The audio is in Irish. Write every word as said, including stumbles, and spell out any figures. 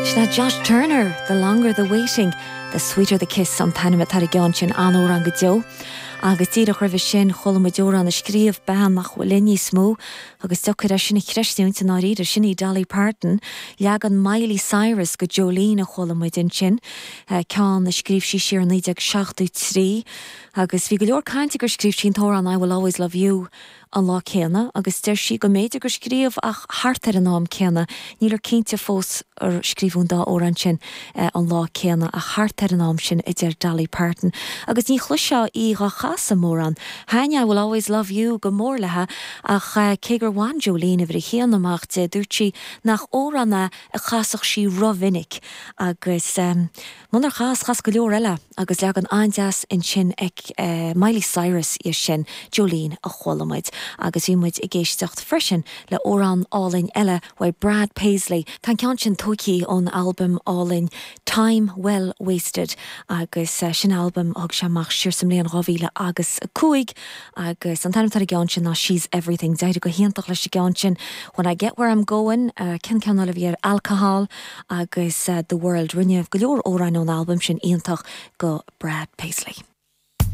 Sin Josh Turner, The Longer the Waiting, The Sweeter the Kiss an t-ainm atá ar an gceann sin an-amhrán go deo. Agus díreach roimhe sin chuala muid amhrán a scríobh bean nach bhfuil linn níos mó, agus deacair é sin a chreidiúint i ndáiríre sin í Dolly Parton, leagan Miley Cyrus de Jolene a chuala muid ansin, ceann a scríobh sí siar naoi déag seachtó trí, agus bhí go leor cainte gur scríobh sí an t-amhrán I Will Always Love You an lá céanna, agus deir sí go mb'fhéidir gur scríobh ach thart ar an am céanna, níltear cinnte fós ar scríobhadh an dá amhrán sin an lá céanna ach thart ar an am sin a deir Dolly Parton. Agus ní chloisfeá í dhá chasadh mórán. Thaitnigh I Will Always Love You go mór léi ach cé gur bhain Jolene uimhir a haon amach di dúirt sí nach amhrán é a chasfadh sí rómhinic agus um, munar chas chas go leor eile agus leagan an-deas ansin ag uh, Miley Cyrus í sin Jolene a chuala muid agus bhí muid ag éisteacht freisin le amhrán álainn eile ó Brad Paisley. Tá ceann sin tógtha ón album álainn Time Well Wasted agus uh, sin album a thug sé amach siar sa mbliain dhá mhíle agus a cúig agus an t-ainm atá ar an gceann sin ná She's Everything D'éirigh go hiontach leis an gceann sin when I get where I'm going uh, cén ceann eile a bhí air alcohol agus uh, the world rinne go leor amhrán ón album sin iontach go Brad Paisley.